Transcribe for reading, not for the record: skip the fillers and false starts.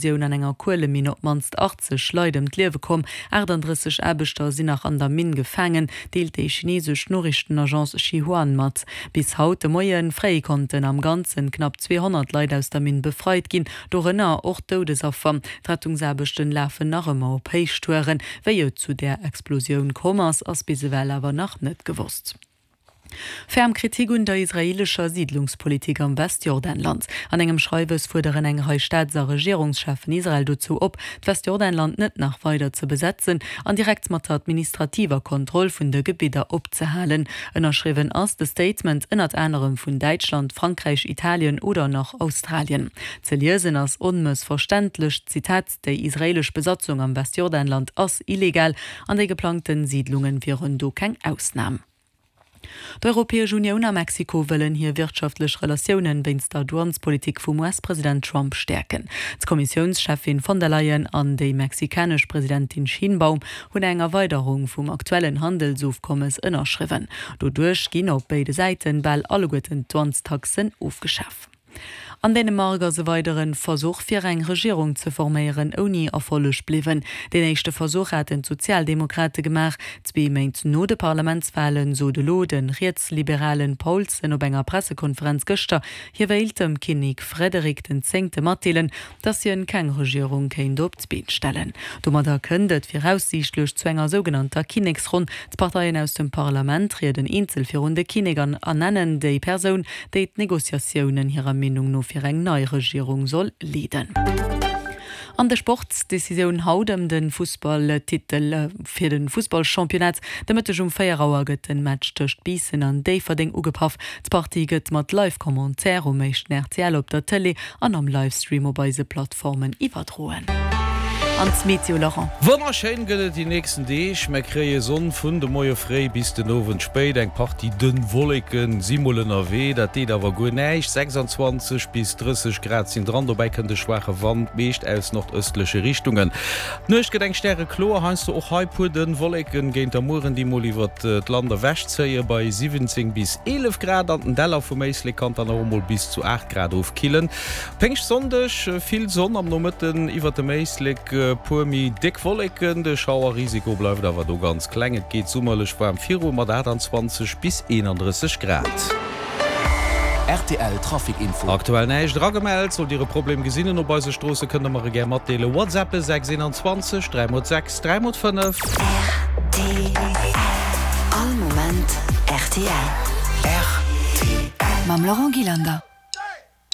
Explosioun an enger Kueleminn op d'mannst 80 Leit ëm d'Liewe komm. 38 Aarbechter sinn nach an der Minn gefaangen, deelt déi chineesesch Noriichtenagence Xinhua mat. Bis haut de Moie fréi konnten am Ganzen knapp 200 Leit aus der Minn befreit ginn, dorënner och Doudesaffer. D'Rettungsaarbechten lafen nach ëmmer op Héichtouren. Wéi et zu där Explosioun komm ass, ass bis ewell awer nach net gewosst. Ferm Kritik un der israeelescher Siidlungspolitik am Westjordanland. An engem Schreiwes fuerderen eng Rei Staats a Regierungscheffen Israel dozou op, d'Westjordanland net nach weider ze besetzen an direkt mat der administrativer Kontroll vun de Gebidder opzehalen. Ënnerschriwwen ass de Statement ënnert anerem vun Däitschland, Frankräich, Italien oder nach Australien. Ze liesen ass onmëssverständlech, Zitat, Déi israeelesch Besatzung am Westjordanland ass illegal an déi geplangten Siidlungen wieren do keng Ausnam. D'Europäesch Unioun a Mexiko wëllen hir wirtschaftlech Relatiounen wéinst der Douanespolitik vum US-President Trump stäerken. D'Kommissiounscheffin von der Leyen an déi mexikanesch Presidentin Sheinbaum hunn eng Erweiderung vum aktuellen Handelsofkommes ënnerschriwwen. Doduerch ginn op béide Säiten bal alleguerten d'Douanestaxen ofgeschaf. An Dänemark ass e weidere Versuch fir eng Regierung ze forméieren ouni Erfolleg bliwwen. Deen éischte Versuch haten d'Sozialdemokrate gemaach. Zwee Méint no de Parlamentswalen sot elo de rietsliberalen Paulsen op enger Pressekonferenz gëschter, hie wéilt dem Kinnek Frederik den Zéngte matdeelen, datt hien keng Regierung kéint op d'Been stellen. Domadder kënnt et viraussiichtlech zu enger sougenannter Kinneksronn. D'Parteien aus dem Parlament trieden eenzel virun de Kinnek an ernennen déi Persoun, déi d'Negociatiounen hirer Meenung no fir eng nei Regierung soll leeden. An de Sport, Decisioun haut ëm de Fussballtitel fir de Fussballchampionnat. De Mëtteg um 4 Auer gëtt den Match tëscht Biissen an Déifferdeng ugepaff. D'Partie gëtt mat Live-Commentaire um éischten rtl op der Tëlee an am Livestream op eise Plattformen iwwerdroen. An d'Meteo, Laurent? Wonnerschéin gëtt et déi nächsten Deeg. Mär kréie Sonn vun de Moie fréi bis den Owend spéit. Eng Partie dënn Wolleke si mol ënnerwee, dat deet awer guer näischt. 26 bis 30 Grad sinn dran, dobäi kënnt e schwaache Wand, meescht aus nordëstleche Richtungen. D'Nuecht gëtt eng stärekloer, heiansdo och hei puer dënn Wolleken géint der Mueren, déi mol iwwert d'Land ewechzéie bei 17 bis 11 Grad. An den Däller vum Éislek kann et dann och emol bis zu 8 Grad ofkillen. Péngschtsonndeg, Vill Sonn am Nomëtten iwwert dem Éislek, puer méi déck Wolleken. De Schauerrisiko bleift awer do ganz kleng. Et geet summerlech waarm viru mat 28 bis 31 Grad. Rtl Trafic Info. Aktuell näischt eragemellt. Sollt Dir e Problem gesinn op eise Stroosse, kënnt der mer e gär matdeelen. WhatsAppe 6 21 3 mol 6 3 mol 5. Rtl. All Moment rtl. Rtl. Mam Laurent Gillander.